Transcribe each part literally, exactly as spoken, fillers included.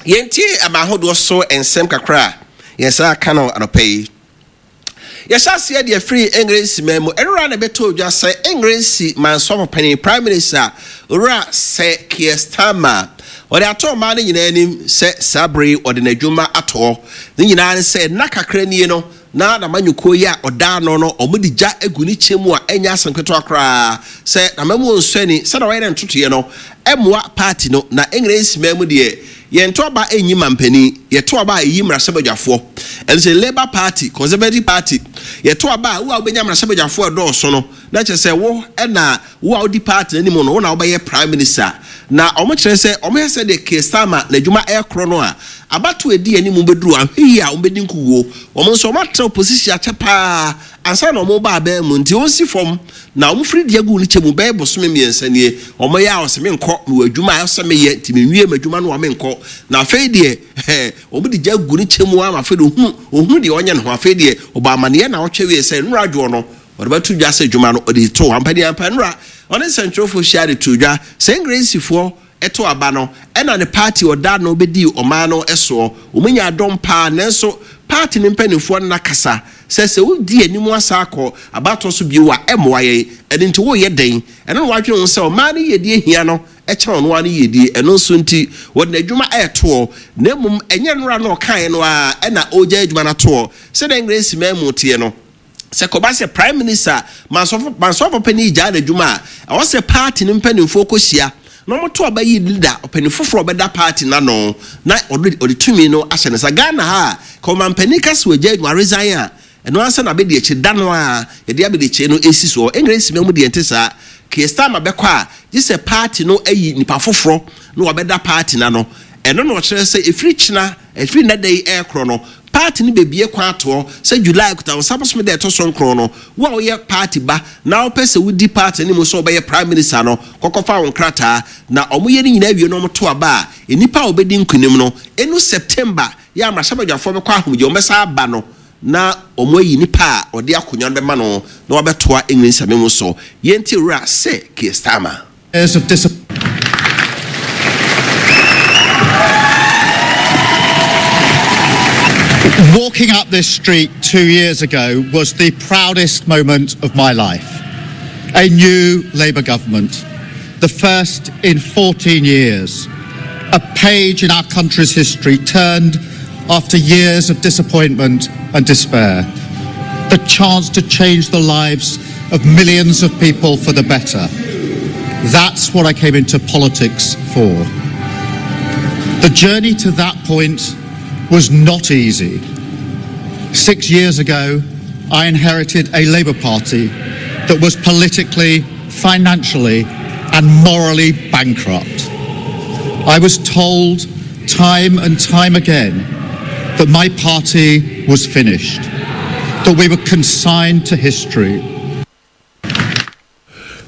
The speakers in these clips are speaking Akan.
Yɛntie ama ahodoɔ so nsɛm kakra a yɛn nsa aka no anɔpa yi. Yɛhyɛ aseɛ deɛ firi Engiresi man mu. Ɛnora na ɛbɛtɔ dwa sɛ Engiresi mansɔfo panin, Prime Minister, Owura Sir Keir Starmer, ɔde ato ɔman no nyinaa anim sɛ saa bere yi ɔde n'adwuma ato hɔ. Ne nyinaa ne sɛ nna kakra nie no na n'amanyɔkuo yi a ɔda ano no wɔde gya agu ne kyɛ mu a ɛnyɛ asɛm ketewa koraa sɛ n'amamuo nsɔ ani sɛdeɛ wayɛ ne ntotoeɛ no mmoa party no. Na Engiresi man mu deɛ, yɛnto aba nyi mampanin, yɛto aba a ɛyi mmarahyɛbadwafoɔ. Ɛno sɛ Labour Party, Conservative Party, yɛto aba a wo a wobɛnya mmarahyɛbadwafoɔ ɛdɔɔso no, na kyerɛ sɛ wo ɛna wo a wodi party no anim no, wo na wobɛyɛ Prime Minister. Na wɔn kyerɛ sɛ wɔn hwɛ sɛ deɛ Keir Starmer n'adwuma ɛrekorɔ no a, abato a ɛdi anim bɛduru ahwɛ yie a wɔbɛdi nkuguo. Wɔn nso wɔn atena opposition akyɛ paa ansa na wɔn ba abɛn mu, nti wɔn si fam na wɔn firi deɛ gu ne kyɛ mu bɛyɛ bosome mmiɛnsa nie. Wɔn yɛ a wɔsɛ menkɔ, mewɔ adwuma a ɛsɛ meyɛ nti menwie m'adwuma no a menkɔ. Na afei deɛ ɛɛ wɔn de gya gu ne kyɛ mu ama afei deɛ ohunu ohunu deɛ ɔnyɛ ne ho. Afei deɛ ɔbɔ amaneɛ na ɔtwe wie sɛ nnora adwoɔ no ɔde bɛto dwa sɛ adwuma no ɔde to ampadeɛ ampa. Nnora ɔne nsɛntwerɛfoɔ hyia de to dwa sɛ Engresifoɔ ɛto aba no ɛna ne party ɔda no bɛdi ɔman no soɔ, wɔn nya adɔm paa, nanso party ne mpanimfoɔ no nakasa sɛ sɛ wodi anim asa akɔ abatoɔ so bio a ɛmmoa yɛn. Ɛno nti woyɛ den ɛno na wadwene ho sɛ ɔman no yɛdie hia no ɛkyɛn ɔno ara no yɛdie. Ɛno nso nti wɔde n'adwuma ɛɛtoɔ, na mmom ɛnyɛ nnora na ɔkaeɛ no a ɛna ɔregya adwuma no atoɔ. Sɛdeɛ Engresi man mu teɛ no, sɛ kɔba sɛ Prime Minister mansɔfo mansɔfo panin gyaa n'adwuma a, ɛwɔ sɛ party no mpanimfoɔ kɔhyia na wɔto aba yi leader ɔpanin foforɔ ɔbɛda party n'ano na ɔde ɔde tumi no ahyɛ ne nsa. Ghana ha a ka ɔmampanin ka sɛ wagya adwuma, resign a, ɛno ansa na abɛdi akyi da no a yɛde abɛdi akyi no esi soɔ. Engresi man mu deɛ nte saa. Keir Starmer bɛkɔ a, gye sɛ party no ayi nipa foforɔ na wabɛda party n'ano. Ɛno na ɔkyerɛ sɛ efiri kyina, efiri nnɛ yi ɛrekorɔ no, party no bebie kwan atoɔ sɛ July kuta nsa bosome da ɛtɔ so nkron no, wo a woyɛ party ba na wopɛ sɛ wodi party no mu sɛ wobɛyɛ Prime Minister no, kɔkɔfa wo nkrataa. Na ɔmo yɛ ne nyinaa wie na ɔmo to aba a, nnipa a wɔbɛdi nkunim no, enu September yɛ amarahyɛbadwafoɔ bɛkɔ ahomegye, wɔn bɛsa aba no na wɔn ayi nipa a ɔde akonnwa no bɛma no na wabɛtoa England mu so. Yɛnti Owura Sir Keir Starmer. Years of dis- Walking up this street two years ago was the proudest moment of my life. A new Labour government, the first in fourteen years, a page in our country's history turned after years of disappointment and despair. The chance to change the lives of millions of people for the better. That's what I came into politics for. The journey to that point was not easy. Six years ago, I inherited a Labour Party that was politically, financially, and morally bankrupt. I was told time and time again that my party was finished, that we were consigned to history.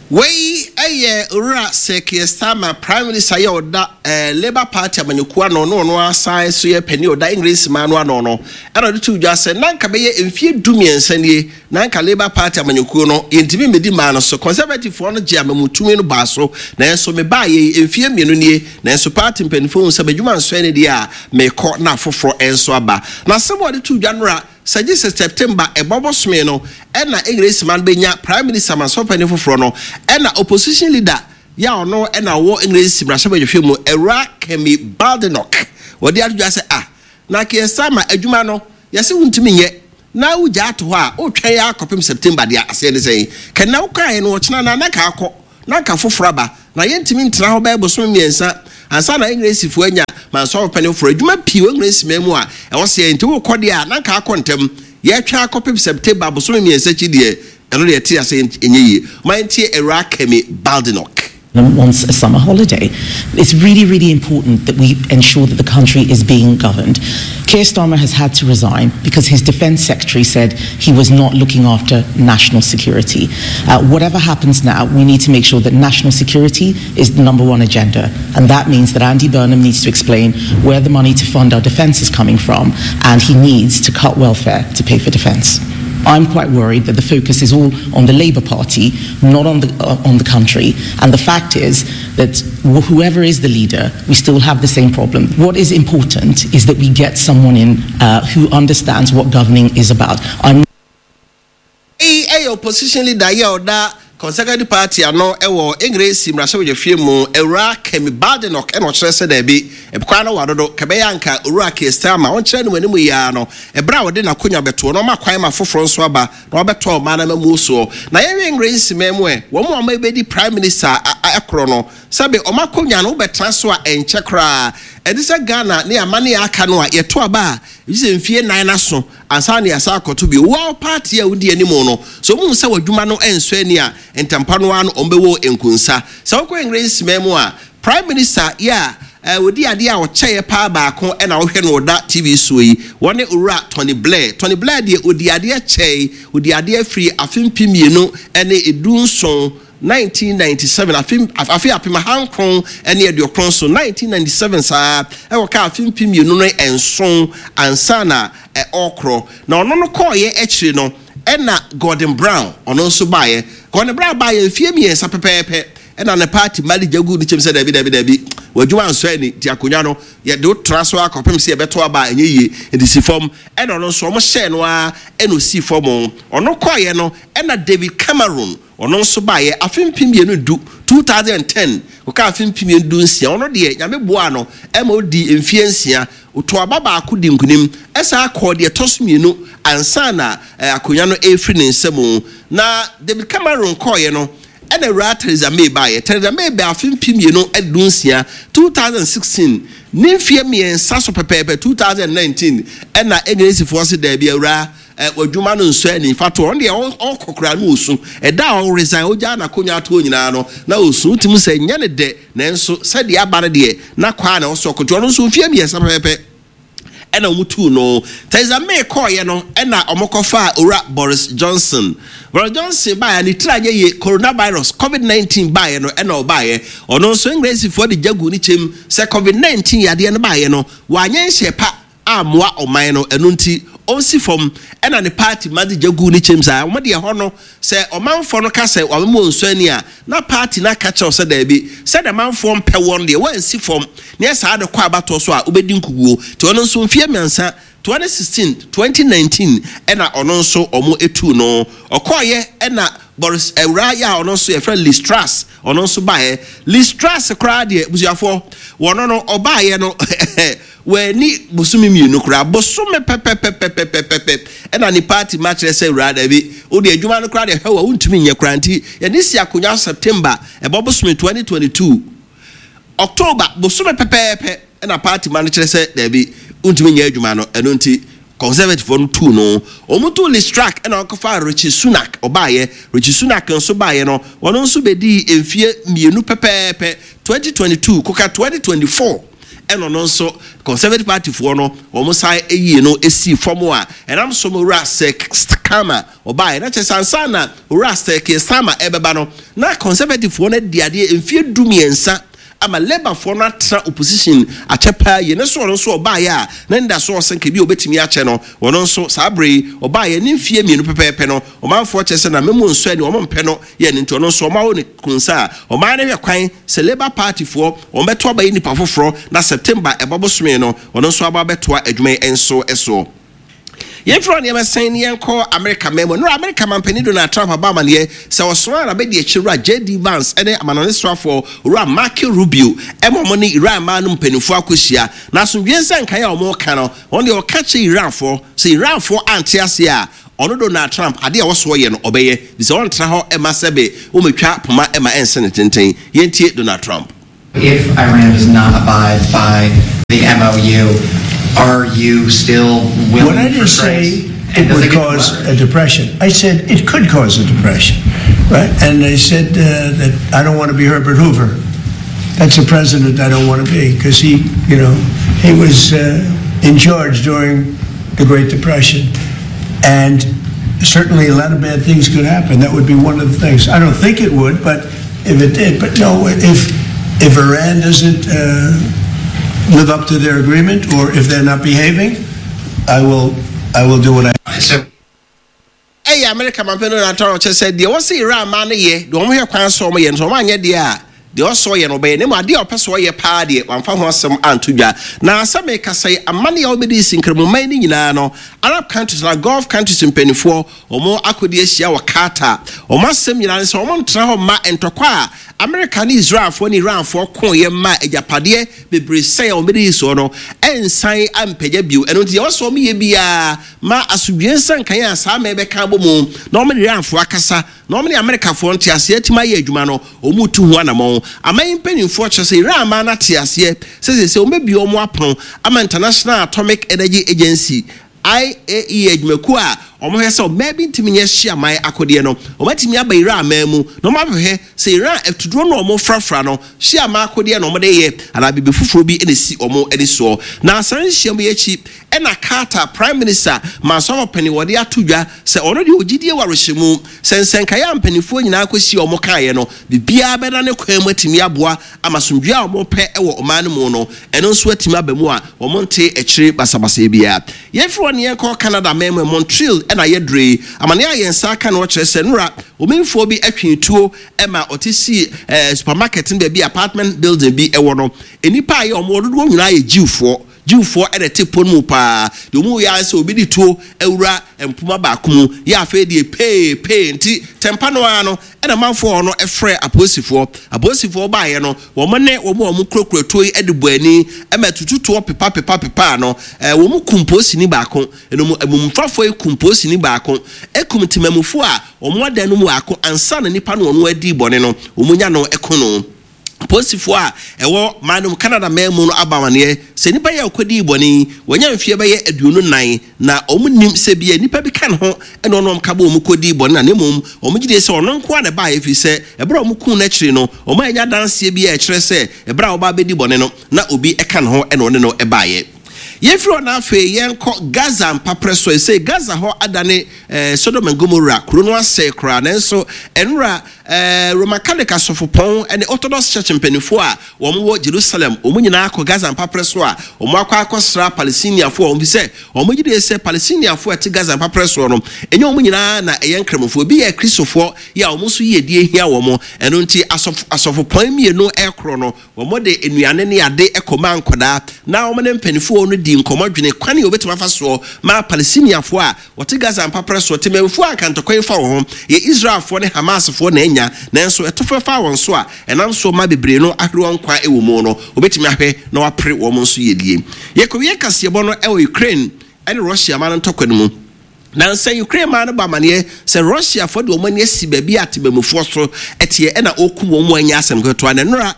Wei ɛyɛ Owura Sir Keir Starmer, Prime Minister yɛ ɔda ɛɛ Labour Party amanyɔkuo ano no, ɔno asan so yɛ panin ɔda English man no ano no, ɛna ɔde to dwa sɛ nanka bɛyɛ mfie du mmiɛnsa nie nanka Labour Party amanyɔkuo no yɛntumi mmɛdi maa no so. Conservative foɔ no gye amamutumi no baa so, nanso mebaa yɛ mfie mmienu nie, nanso party mpanimfoɔ hu sɛ m'adwuma nsɔn ne deɛ a mekɔ na afoforɔ nso aba. Na asɛm a ɔde to dwa nora sɛ gye sɛ September ɛbɔ bosome no ɛna English man bɛnya Prime Minister mansɔpanin foforɔ no, ɛna opposition leader yɛ a ɔno ɛna ɔwɔ English mmarahyɛbadwahwɛ mu, Awura Kemi Badenoch, wɔde ato dwa sɛ ah, na Keir Starmer adwuma no yɛsɛ wontumi nyɛ na wogya ato hɔ a wotwɛn yɛ akɔpem September deɛ, aseɛ ne sɛn? Kɛnɛ wokaeɛ no ɔkyena na na ka akɔ na nka foforɔ aba na yɛntumi ntena hɔ bɛyɛ bosome mmiɛnsa ansa na Englishfoɔ anya mansɔpanin foforɔ. Adwuma pii wɔ English man mu a ɛwɔ sɛ nti wokɔ deɛ a na nka akɔ ntɛm. Yɛtwa akɔpem September bosome mmiɛnsa akyi deɛ, ɛno deɛ ɛte ase ɛnyɛ yie. Ma yɛntie Awura Kemi Badenoch. Wants a summer holiday. It's really, really important that we ensure that the country is being governed. Keir Starmer has had to resign because his defence secretary said he was not looking after national security. Uh, whatever happens now, we need to make sure that national security is the number one agenda. And that means that Andy Burnham needs to explain where the money to fund our defence is coming from, and he needs to cut welfare to pay for defence. I'm quite worried that the focus is all on the Labour Party, not on the, uh, on the country. And the fact is that whoever is the leader, we still have the same problem. What is important is that we get someone in uh, who understands what governing is about. I'm Eyi yɛ opposition leader yi a ɔda Conservative Party ano wɔ Engiresi mmarahyɛbadwafie mu, Awuraa Kemi Badenoch na ɔkyerɛ sɛ daabi, kwan no wa dodo, ka ɛbɛyɛ a anka Owura Keir Starmer ɔnkyerɛ ne mu anim yi ara no, ɛberɛ a ɔde n'akonwa bɛtoɔ na ɔma kwan ma foforɔ nso aba na wabɛtoa ɔman no amammuo soɔ. Na yɛnhwɛ Engiresi man mu ɛ, wɔn a wɔabɛdi Prime Minister korɔ no, sɛbe wɔn akonwa no wobɛtena so a ɛnkyɛ koraa. Ɛte sɛ Ghana ne amane a aka no a yɛto aba a, gye sɛ mfie nnan no aso ansa na yɛasan akɔto bio. Wo ara wo party a wodi anim no, sɛ wɔhu sɛ w'adwuma no nsɔ ani a, ntɛmpa no ara no wɔbɛwɔ wo nkunsa. Sɛ wokɔ Engiresi man mu a, Prime Minister yi a ɔdi adeɛ a ɔkyɛeɛ paa baako na wohwɛ no ɔda T V soɔ yi, wɔne Owura Tony Blair. Tony Blair deɛ ɔdii adeɛ kyɛe, ɔdii adeɛ firi afe mpem mmienu ne du nson, nineteen ninety seven, afe afe apem ahankron ne aduokron so, nineteen ninety seven saa ara, ɛkɔkaa afe mpem mmienu ne nson ansa na ɔrekorɔ. Na ɔno no kɔeɛ akyire no, ɛna Gordon Brown, ɔno nso baeɛ. Gordon Brown baeɛ mfeɛ mmiɛnsa pɛpɛɛpɛ, ɛna ne party mma de gya guu ne kyɛm sɛ dabi, dabi, dabi, w'adwuma nsɔ ani, nti akonnwa no, yɛde wo tra so ara kɔpem sɛ yɛbɛto aba a ɛnyɛ yie, nti si fam. Ɛna ɔno nso, wɔhyɛɛ no ara ɛna ɔsii fam. Ɔno kɔeɛ no, ɛna David Cameron, ɔno nso baeɛ afe mpem mmienu du, two thousand and ten, kɔkaa afe mpem mmienu du nsia. Ɔno deɛ, Nyame boaa no ma ɔdii mfeɛ nsia. Ɔtoo aba baako dii nkunim, ɛsan kɔɔ deɛ ɛtɔ so mmienu ansa na akonnwa no refiri ne nsa mu. Na David Cameron kɔeɛ no, ɛna Awuraa Theresa May baeɛ. Theresa May baa afe mpem mmienu du nsia, two thousand and sixteen, ne mfeɛ mmiɛnsa so pɛpɛɛpɛ, two thousand and nineteen, ɛna Engiresifoɔ se daabi, Awuraa, Eh, w'adwuma no nsɔ ani. Fa to ɔno deɛ ɔkɔ koraa na ɔsu. Ɛda a ɔresign, ɔgyaa n'akonnwa ato hɔ nyinaa no, na ɔsu. Wotumi hu sɛ ɛnyɛ no dɛ, nanso sɛdeɛ aba no deɛ, na kɔ ara na ɛwɔ sɛ ɔkɔ. Nti ɔno nso mfeɛ mmiɛnsa pɛpɛɛpɛ ɛna wɔtuu no. Theresa May kɔeɛ no, ɛna wɔkɔfaa Owura Boris Johnson. Boris Johnson baeɛ a, ne tiri anyɛ yie. Coronavirus, covid nineteen baeɛ no, ɛna ɔbaeɛ. Ɔno nso, Englesifoɔ de gya guu ne kyɛm sɛ covid nineteen yadeɛ no baeɛ no, wanyɛ nhyɛ pa ammoa ɔman no, ɛno nti ɔnsi fam, ɛna ne party ma de gya guu ne kyɛm saa. Wɔn deɛ ɛhɔ no, sɛ ɔmanfoɔ no ka sɛ wɔamema wɔn nsuo ani a, na party no aka kyerɛ wo sɛ daabi, sɛdeɛ manfoɔ mpɛ wɔn deɛ, woansi fam, na yɛ saa de kɔ abatoɔ so a, wobɛdi nkuguo. Nti ɔno nso mfeɛ mmiɛnsa, twenty sixteen, twenty nineteen, ɛna ɔno nso wɔtuu no. Ɔkɔeɛ ɛna Boris awuraa yi a ɔno nso yɛfrɛ no Liz Truss, ɔno nso baeɛ. Liz Truss koraa deɛ, abusuafoɔ, wɔno no ɔbaeɛ no, Wanni bosome mmienu koraa, bosome pɛpɛpɛpɛpɛpɛpɛ ɛna ne party ma kyerɛ sɛ awuraa dabi, wo deɛ adwuma no koraa deɛ hwɛ wo a wontumi nyɛ koraa nti yɛde si akonnwa so September ɛbɔ bosome twenty twenty two, October bosome pɛpɛɛpɛ ɛna party ma no kyerɛ sɛ dabi wontumi nyɛ adwuma no ɛno nti Conservative foɔ no tuu no. Wɔn tuu Liz Truss ɛna wɔkɔfaa Rishi Sunak ɔbaeɛ. Rishi Sunak nso baeɛ no ɔno nso bɛdii mfeɛ mmienu pɛpɛɛpɛ twenty twenty two kɔka twenty twenty four. Ɛna ɔno nso Conservative Party foɔ no wɔn san yii no sii fam a ɛnam so ma Owura Sir Starmer ɔbaeɛ. Na kyerɛ sɛ ansa na Owura Sir Keir Starmer ɛrebɛba no, na Conservative foɔ no adi adeɛ mfeɛ du mmiɛnsa ama Labour foɔ no atena opposition akyɛ paa yie. Ne so ɔno nso ɔbaeɛ a na ne da so ɔsɛ nka bi a ɔbɛtumi akyɛ no, ɔno nso saa berɛ yi ɔbaeɛ ne mfeɛ mmienu pɛpɛɛpɛ no, ɔmanfoɔ kyerɛ sɛ na memo nsɔ ani, wɔn mpɛ no yɛ no nti ɔno nso wɔawo no kunsa a ɔman no hwɛ kwan sɛ Labour Party foɔ wɔn bɛto aba yi nipa foforɔ na September ɛbɔ bosome no ɔno nso aba abɛtoa adwuma yi nso soɔ. Yɛmfiri hɔ nneɛma sɛn ne yɛnkɔ Amerika man mu. Nnora Amerika manpanin Donald Trump abɔ amaneɛ sɛ ɔsomaa n'abadiakyire wura J D Vance ne amanɔne soafoɔ owura Marco Rubio ma wɔn ne Iran man no mpanimfoɔ akɔhyia na asomdwoeɛ nsɛnkaeɛ a wɔreka no wɔn deɛ ɔka kyerɛ Iranfoɔ sɛ Iranfoɔ ante aseɛ a Ɔno Donald Trump, adeɛ a ɛwɔ soɔ yɛ no ɔbɛyɛ, fisɛ ɔntra hɔ mma sɛbe wɔmɛtwa poma ma ɛnse ne tenten. Yɛntie Donald Trump. If Iran does not abide by the M O U, are you still willing When I for didn't strikes? say And it does would it get cause better? a depression, I said it could cause a depression, right? And I said, uh, that I don't wanna be Herbert Hoover. That's a president I don't wanna be, 'cause he, you know, he was, uh, in charge during the Great Depression. And certainly a lot of bad things could happen. That would be one of the things. I don't think it would, but if it did. But no, if, if Iran doesn't, uh, live up to their agreement, or if they're not behaving, I will, I will do what I... So, Ɛyɛ America mampɛ no natɔ kyerɛ sɛ deɛ wɔsɛ Iran ma no yɛ deɛ, wɔn hwɛ kwan so wɔn yɛ no, so wɔn anyɛ deɛ a, deɛ ɔsɔ yɛ no ɔbɛyɛ ne mu. Adeɛ a ɔpɛ so ɔyɛ paa deɛ, wamfa ho asɛm anto dwa. Na asɛm ekasa yi, amane a wɔbɛdi si nkramoman no nyinaa no, Arab countries na Gulf countries mpanimfoɔ wɔn akɔdi ahyia wɔ Qatar. Wɔn asɛm nyinaa ne sɛ wɔn ntena hɔ mma ntɔkwa a America ne Israelfoɔ ne Iranfoɔ ko yɛ mma agyapadeɛ bebree sɛn a wɔn bɛdi soɔ no ɛnsan ampagya bio. Ɛno nti deɛ wɔsɔ wɔn yɛ biara ma asomdwe nsankan a saa mmaa bɛka abɔ mu na wɔn ne Iranfoɔ akasa na wɔn ne Amerikafoɔ nte aseɛ atumi ayɛ adwuma no, wɔn tu ho anammɔn. Aman mpanimfoɔ kyerɛ sɛ Iran man no ate aseɛ sɛ sɛ sɛ wɔn bɛbie wɔn apono ama International Atomic Energy Agency, I A E A, adwumakuo a wɔhwɛ sɛ ɔbaa bi ntumi nyɛ hye aman akodeɛ no, wɔatumi aba Iran man mu na wɔn ahwehwɛ sɛ Iran atuduro no a wɔn frafra no hye aman akodeɛ na wɔde yɛ anaa biribi foforɔ bi na esi wɔn ani soɔ. Na asan nhyiam yi akyi ɛna Qatar Prime Minister mansɔfo panyin wɔde ato dwa sɛ ɔno deɛ ogyidie wɔ arehyɛmu sɛ nsɛnkaeɛ a mpanimfoɔ nyinaa kɔsi wɔn kaeɛ no, biribiara bɛda ne kwan mu atumi aboa ama asomdwe a wɔn pɛ wɔ ɔman no mu no, ɛno nso atumi aba mu a wɔn nte akyire basabasa biara. Yɛmfiri hɔ ne yɛnkɔ Canada man mu. Montreal ɛna yɛdure yi. Amane a yɛn nsa aka no, wɔkyerɛ sɛ nora omanfoɔ bi atwe tuo ɛma ɔte si ɛɛ supermarket no baabi, apartment building bi ɛwɔ no. Nnipa a yɛ wɔn dodoɔ nyinaa yɛ Jewfoɔ. Jewfoɔ ɛna ɛte pon mu paa deɛ, wɔn yɛ sɛ obi de tuo awura mpoma baako mu yɛ. Afei deɛ pee pee nti tɛmpa no ara no ɛna manfoɔ no ɛfrɛ apolisifoɔ. Apolisifoɔ baayɛ no, wɔn ne wɔn a wɔn kurakura tuo yi ɛde bɔ ani ɛma tututoɔ pepa pepa pepa no ɛɛ wɔn kum polisini baako. Ɛnum emumfafoɔ yi kum polisini baako, ekum temamufoɔ a wɔn adan no mu baako ansa na nipa no wɔn adi bɔne no wɔn nya no ɛko no. Polisifoɔ a ɛwɔ man no mu, Canada man mu no, aba amaneɛ sɛ nipa yi a ɔkɔdii bɔne yi, wɔnya mfeɛ bɛyɛ aduonu nan, na wɔn nim sɛ bia nipa bi ka ne ho ɛna ɔno ka bɔ wɔn kɔdii bɔne, na ne mmom wɔn gye die sɛ ɔno nko a na ɛbaeɛ, ɛfiri sɛ ɛberɛ a wɔn kum n'akyiri no, wɔn anya adanseɛ bi a ɛkyerɛ sɛ ɛberɛ a wɔba abɛdi bɔne no na obi ɛka ne ho ɛna ɔne no ɛbaeɛ. Yɛmfiri hɔ na afei yɛnkɔ Gaza mpaprɛ so. Ɛsɛ Gaza hɔ adane eh, Sodom and Gomorrah, kuro no asɛe koraa. Nanso ɛnora eh, Roman Catholic asɔfopɔn ne Orthodox Church mpanimfoɔ a wɔn wɔ Jerusalem, wɔn nyinaa akɔ Gaza mpaprɛ so a wɔn akɔ akɔsra Palestiniafoɔ a wɔn fi sɛ wɔn gye die sɛ Palestiniafoɔ a ɛte Gaza mpaprɛ soɔ no, ɛnyɛ wɔn nyinaa na ɛyɛ nkramofoɔ, bi yɛ Kristofoɔ yɛ a wɔn nso yie die hia wɔn. Ɛno nti asɔfo asɔfopɔn mmienu ɛkorɔ no, wɔn de nnuane ne ade ɛkɔma nkɔdaa na wɔn ne mpanimfoɔ no di nkɔmɔ dwene kwan a wɔbɛtumi afa soɔ ma Palestiniafoɔ a wɔte Gaza mpaprɛ soɔ, temamufoɔ a nkantɔkwan fa wɔn ho yɛ Israelfoɔ ne Hamasfoɔ na anya, nanso ɛto fɛfa wɔn so a ɛnam so ma bebree no ahwere wɔn nkwa wɔ mu no, wɔbɛtumi ahwɛ na wɔapere wɔn nso yɛdie. Yɛkɔwie kaseɛbɔ no ɛwɔ Ukraine ɛne Russia ma no ntɔkwa no mu. Nansa Ukraine maa no ba amaneɛ sɛ Russiafoɔ de wɔn ani asi baabi a temamufoɔ so ɛteɛ ɛna ɔkum wɔn mu anya asɛm ketewa. Na nnora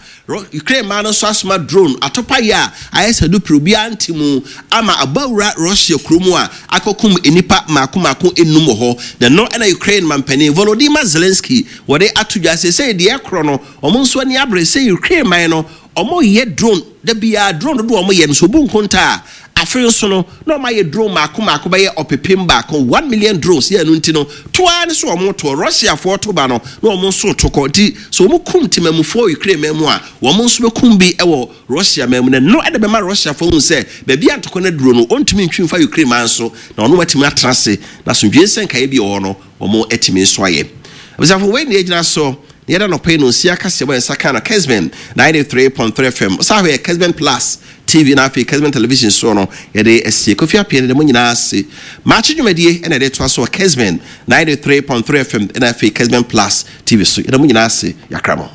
Ukraine maa no nso asoma drone atɔpayɛ a ayɛ sɛ dupere obiara nte mu ama abawura Russia kurom a akɔkum nnipa mako mako enum wɔ hɔ. Na no ɛna Ukraine mampanin Volodymyr Zelensky wɔde ato dwa sɛ sɛ deɛ ɛkorɔ no, wɔn nso ani abere sɛ Ukraine man no wɔn yɛ drone da biara. Drone dodoɔ wɔn yɛ no so obu nkonta a, afei nso no na wɔn ayɛ drone mako mako bɛyɛ ɔpepem baako, one million drones yɛ. Ɛno nti no toa ne so wɔn toɔ Russiafoɔ to ba no na wɔn nso to kɔ. Nti so wɔn kum temamufoɔ Ukraine man mu a, wɔn nso bɛkum bi wɔ Russia man mu, na no ɛde bɛma Russiafoɔ hu sɛ baabi a ntɔkwa no aduro no, ɔntumi ntwi mfa Ukraine man so na ɔno watumi atena ase na asomdwe nsɛnkaeɛ bi wɔ hɔ no, wɔn atumi nso ayɛ. Abusuafo, wei na yɛgyina so na yɛda nɔpɛ yi no nsia kaseɛ bɔ yɛn nsa ka no Kesben ninety-three point three F M, ɔsan hɔ yɛ Kesben Plus T V na afei Kesben Television soɔ no. Yɛde asie Kofi Appiah no de mo nyinaa ase. Maakye dwumadie ɛna yɛde toa so wɔ Kesben ninety-three point three F M ɛna afei Kesben Plus T V so. Yɛde mo nyinaa ase, yɛakra mo.